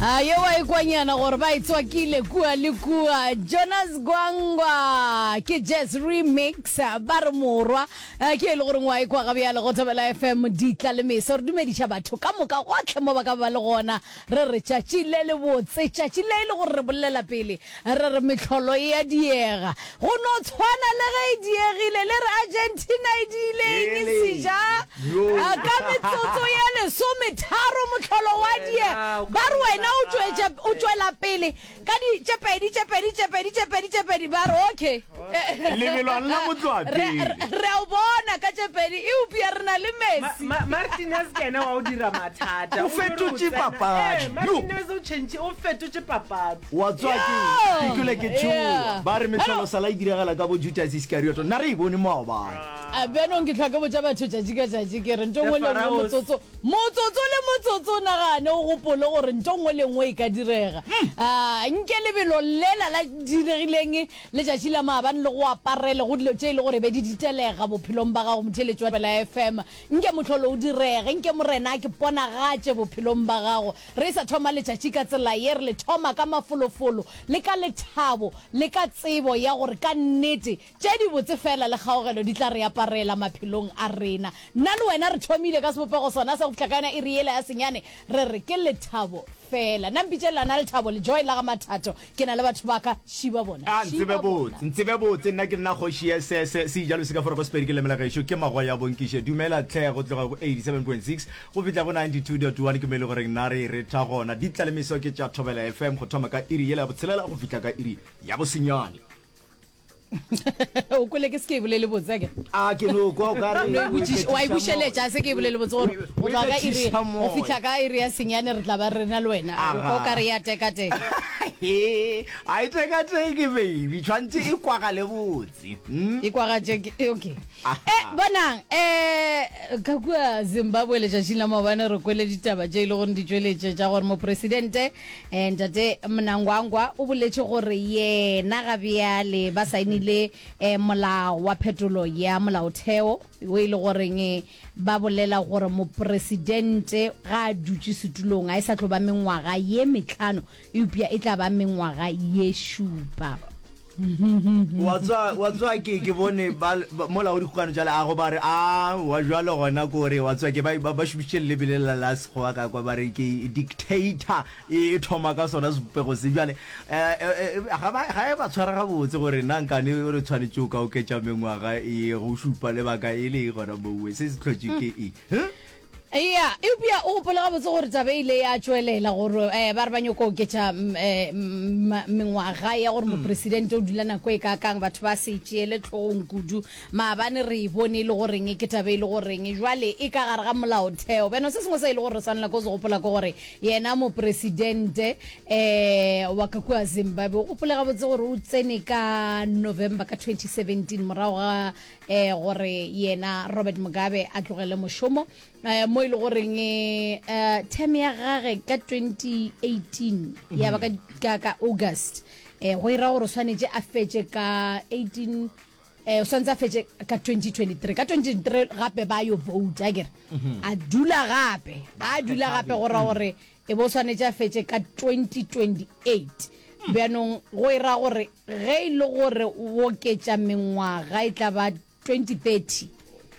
A ye wa ikwanyana gore ba e tswakile kua le kua. Jonas Gwangwa ke Jazz Remix ba re morwa eh, ke e le goreng wa ekwa ga bjale go Thobela FM ditla le meso re dumediša batho ka moka gotlhe mo ba ka ba le gona re re tšatši le le botse tšatši le e le gore re bolela pele Re re mehlolo e a diega. Go no tshwana le ge e diegile. Le re Argentina e diile eng seja? Ka metsotso ye lesometharo mohlolo wa diega. Ba re wena o tšwetša, o tšwela pele ka di tše pedi, tše pedi, tše pedi, tše pedi, tše pedi. Ba re okay. Lebelo a lla motloa Re, pele. re a o bona ka tše pedi, eupša re na le Messi. Ma, ma, Martinez ke yena wa go dira mathata. O O no re o fetotše tsena. papadi. Ee, Martinez o change, o fetotše papadi. Wa tswa ke, ke kwele ke tšhoga. Yeah. Ba re mehlolo sala e diragala ka bo Judas Iskarioto. Nna re e bone maobane. A bjanong ke hlwa ke botša batho tšatši ka tšatši ke re nto The nngwe le nngwe Pharaohs. motsotso motsotso le motsotso o nagane o gopole gore nto nngwe le nngwe e ka direga. A nke lebelo lela la diregileng Letšatši la maabane le go aparele go dilo tše e le gore be di ditelega bophelong ba gago, motheeletši wa Thobela FM. Nke mohlolo o direge, nke Morena a ke ponagatše bophelong ba gago. Re sa thoma letšatši ka tsela ye, re le thoma ka mafolofolo le ka lethabo le ka tsebo ya gore ka nnete tše dibotse feela le kgaogelo di tla re aparela maphelong a rena. Nna le wena re thomile ka sebopego sona sa go fihla ka yona iri yela ya senyane, re re ke lethabo feela. Nna mpitše Lana Lethabo Lejoe la ga Mathato. Ke na le batho ba ka, šiba bona, A, ntsebe šiba bona. botse, ntsebe botse, nna ke nna kgoši ye se, se, se ijalo se ka fora go Sepedi ke lemela gešo, ke magoya bonkiše. Dumela tlhe, go tloga go 87.6 go fihla go 92.1 ke mo e le goreng nna re e retha gona. Ditla le meso ke tša Thobela FM go thoma ka iri yela ya botshelela go fihla ka iri ya bosenyane. O kwele ke se ke e bolele botse ke? A ke no kwa o ka re No e botšiša, wa e bušeletša, a se ke e bolele botse gore go tloga ka iri go fihla ka iri ya senyane re tla ba re na le wena. O kwa o ka re ya tekateka. He, a e tekateke baby, tshwantse e kwagale botse. Hmm? E kwagatše ke, okay. Eh, bonang, eh, ka kua Zimbabwe letšatšing la maobane re kwele ditaba tše e le gore di tšweletše tša gore mopresidente eh, ntate Mnangagwa o boletše gore yena ga bjale ba saenile eh, molao wa phetolo ya molaotheo o e le goreng eh, ba bolela gore mopresidente ga a dutše setulong a e sa tlo ba mengwaga ye metlhano eupša e tla ba mengwaga ye šupa. Wa tswa, wa tswa ke, ke bone ba, ba mola o dikgokano tša leago ba re, a, wa jwalo gona ko re, wa tswa ke ba, ba, ba šomišitše leleme le la, la Sekgowa ka kwa ba re ke dictator e, e thoma ka sona sebopego se. Bjale, eh, eh, eh, ga ba, ga e ba tshwara gabotse gore na nkane re tshwanetše o ka oketša mengwaga e go šupa lebaka e le gona mowe, se se hlotše ke eng? Huh? Eya, eupša o gopole gabotse gore taba e ile ya tšwelela gore eh, ba re ba nyoko oketša mm, eh, mm, mengwaga ya gore mopresidente o dula nako e kaakang, batho ba se e tšeele hlogong kudu. Maabane re e bone e le goreng ke taba e le goreng jwale e ka gare ga molaotheo. Bjano se sengwe se e le gore re swanela ke go se gopola ke gore yena mopresidente eh, wa ka kua Zimbabwe o gopole gabotse gore o tsene ka November ka 2017 morago ga eh, gore yena Robert Mugabe a tlogele mošomo eh, mo e le goreng eh, term ya gage ka 2018 ya ba ka, ka, ka August eh, go ira gore o swanetše a fetše ka 18 eh, o swanetše a fetše ka 2023 ka 2023 gape ba yo vote a kere a dula gape a dula gape go ra gore e bo swanetše a fetše ka 2028 bjanong go ira gore Ge e le gore o oketša mengwaga e tla ba 2030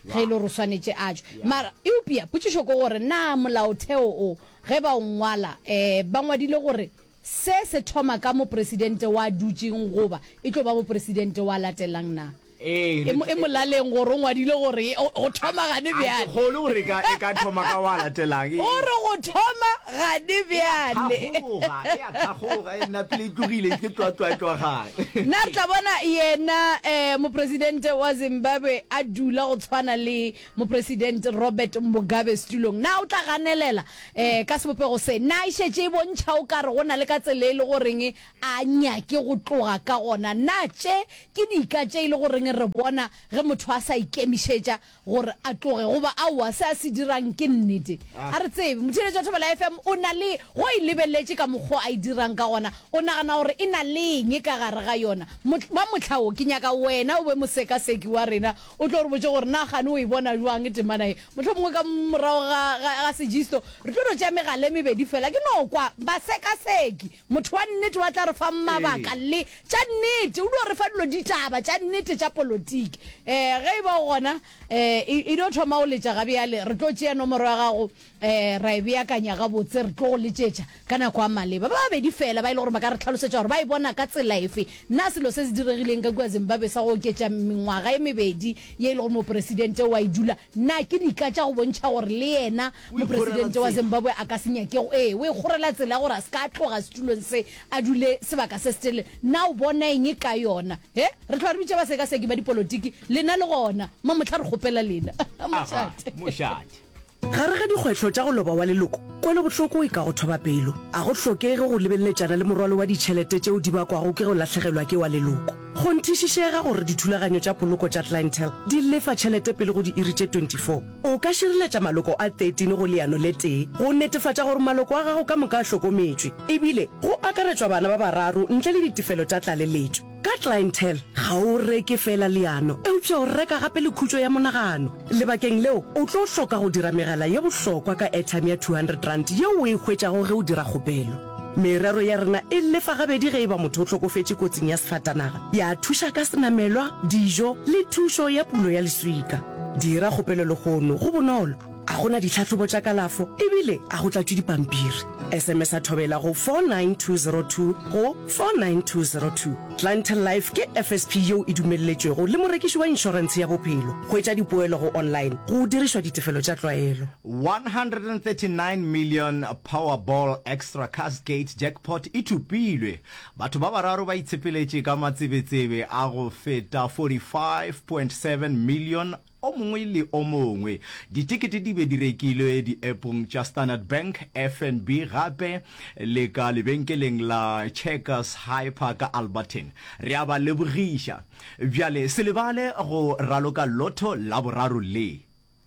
ge e le gore o swanetše a tšwe. Mara eupša potšišo ke gore na molaotheo o ge ba o ngwala um ba ngwadile gore se se thoma ka mopresidente wa dutšeng goba e tlo ba mopresidente wa latelang na? Ee, E, e molaleng gore o ngwadile gore go thoma gane A ke bjale. kgolwe gore e ka, e ka thoma ka wa latelang. E, O re go thoma gane bjale. thakgoga, e a thakgoga, e nna pele e tlogile, e tloa tloa e tloa gae. Nna re tla bona yena um mopresidente wa Zimbabwe a dula go tshwana le mopresidente Robert Mugabe setulong. Na o tla ganelela um ka sebopego se? Na e šetše e bontšha o ka re go na le ka tsela e le goreng a nyake go tloga ka gona? Na tše ke dika tše e le goreng gobane re bona ge motho a sa ikemišetša gore a tloge goba aowa se a se dirang ke nnete. A re tsebe. Motheeletši wa Thobela FM o na le go e lebeletše ka mokgo a e dirang ka gona, o nagana gore e na le eng ka gare ga yona. Ba mohla wo ke nyaka wena o be mosekaseki wa rena o tlo re botše gore na kgane o e bona bjang temana ye. Mohlomongwe ka morago ga, ga, ga sejisto re tlo no tšea megala e mebedi fela. Ke no kwa basekaseki, motho wa nnete wa tla re fa mabaka le tša nnete, o dio re fa dilo ditaba tša nnete tša polotiki. Um ge e ba o gona, um e, e dio thoma go letša gabjale, re tlo tšea nomoro ya gago um ra e beakanya gabotse, re tlo go letšetša ka nako ya maleba. Ba babedi fela ba e le gore ba ka re hlalosetša gore ba e bona ka tsela efe. Na selo se se diregileng ka kua Zimbabwe sa go oketša mengwaga e mebedi ye e le gore mopresidente o a e dula, na ke dika tša go bontšha gore le yena mopresidente wa Zimbabwe a ka se nyake go, ee, o e kgorela tsela ya gore a se ka tloga setulong se a dule sebaka se setelele? Na o bona eng ka yona? He, re hlwa re bitša basekaseki ba dipolotiki, lena le gona. Mamohla re kgopela lena. Mošate. Mošate. Gare ga dikgwetlho tša go loba wa leloko, kwelobohloko e ka go thoba pelo. A go hlokege go lebeleletšana le morwalo wa ditšhelete tšeo di bakwago ke go lahlegelwa ke wa leloko. Kgonthišišega gore dithulaganyo tša poloko tša Clientele di lefa tšhelete pele go diiri tše 24. O ka šireletša maloko a 13 go leano le tee go netefatša gore maloko a gago ka moka a hlokometšwe, ebile go akaretšwa bana ba bararo ntle le ditefelo tša tlaleletšo. Ka Clientele, ga o reke feela leano, eupša o reka gape le khutšo ya monagano. Lebakeng leo, o tlo hloka go dira megala ye bohlokwa ka airtime ya R200 yeo o e hwetšago ge o dira kgopelo. Merero ya rena e lefa gabedi ge e ba motho o hlokofetše kotsing ya sefatanaga, ya thuša ka senamelwa, dijo le thušo ya pulo ya leswika. Dira kgopelo lehono, go bonolo. A go na ditlhahlobo tša kalafo ebile a go tlatšwe dipampiri. SMS-a Thobela go 49202 go 49202. Clientele Life ke FSP yeo e dumelletšwego le morekiši wa inšorentshe ya bophelo. Hwetša dipoelo go online go dirišwa ditefelo tša tlwaelo. 139 million Powerball Extra Cascade Jackpot e thopilwe. Batho ba bararo ba itshepeletše ka matsebetsebe a go feta 45.7 million O mongwe le o mongwe. Ditekete di be di rekilwe di-appong tša Standard Bank, FNB gape le ka lebenkeleng la Checkers Hyper ka Alberton. Re a ba lebogiša. Bjale se lebale go raloka Lotto Laboraro le.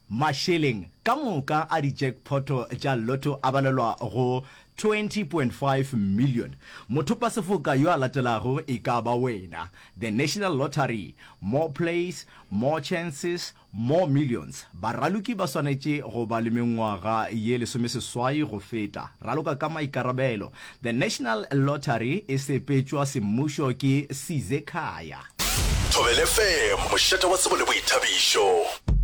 Mašeleng ka moka a di-jackpot tša Lotto a balelwa go 20.5 million. Mothopasefoka yo a latelago e ka ba wena. The National Lottery, More Plays, More Chances, More Millions. Baraloki ba swanetše go ba le mengwaga ye lesomeseswai go feta. Raloka ka maikarabelo. The National Lottery e sepetšwa semmušo ke Sizekhaya. Thobela FM, mošate wa tsebo le boithabišo.